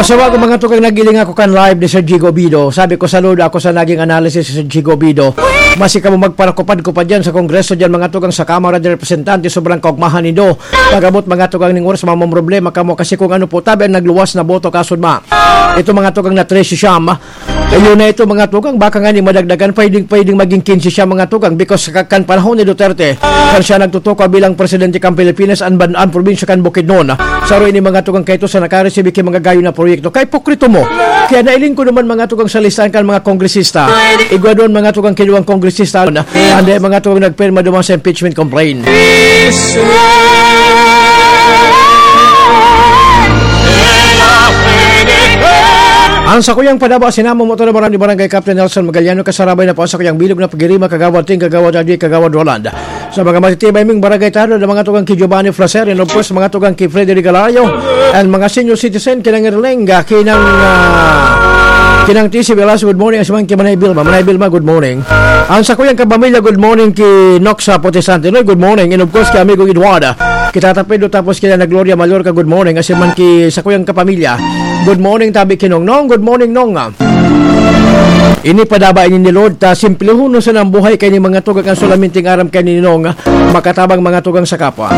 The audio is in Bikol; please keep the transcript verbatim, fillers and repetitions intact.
Sa bago, mga tugang, nagiling ako kan live ni Sir Jigo Bido. Sabi ko, saludo ako sa naging analysis ni Sir Jigo Bido. Masi kamo magparakupad-kupad dyan sa Kongreso dyan, mga tugang, sa Kamara de Representantes, sobrang kaugmahan nindo. Pag-abot, mga tugang, ning oras, mamamroblema kamo kasi kung ano po tabi ang nagluwas na boto, kasudma. Ito, mga tugang, na tres siyam. Ayun na ito, mga tugang, baka nga ni madagdagan, pwedeng, pwedeng maging quince siya, mga tugang, because ka-, kan panahon ni Duterte, kan siya nagtutukaw bilang presidente kan Pilipinas, an, ban-, an probinsya kan Bukidnon, saro ini, mga tugang, kaito sa nakaresibi ki mga gayo na proyekto. Kay pokrito mo. Kaya nailing ko naman, mga tugang, sa listahan kan mga kongresista. Igwa doon, mga tugang, kinuwang kongresista. Andi, mga tugang, nagpirma duman sa impeachment complaint. Ang sakuyang padaba, sinamo mo ito na barang ni Barangay Captain Nelson Magaliano, kasarabay na po ang sakuyang bilog na pagirima, Kagawad Ting, Kagawad Adi, Kagawad Roland. Sa mga matitibay ming barangay tanod, ang mga tugang ki Giovanni Fraser, and of course, mga tugang ki Freddy Regalario, and mga senior citizen, kinang Erleng, ah, kinang, ah, kinang T C Velasco, good morning, as man ki Manay Vilma. Manay Vilma, good morning. Ang sakuyang kapamilya, good morning ki Noxa Protestante, no? Good morning, and of course, ki amigo Eduarda. Kita Tapendo, tapos kila na Gloria Mallorca, good morning. Kasi man ki sakuyang kapamilya, good morning, tabi ki Nong. Nong, good morning, Nong. Ini padaba ini ni Lord, ta simplehon na sana ang buhay kay ni mga tugang, ang solaminting aram kay ni Nong, makatabang mga tugang sa kapwa.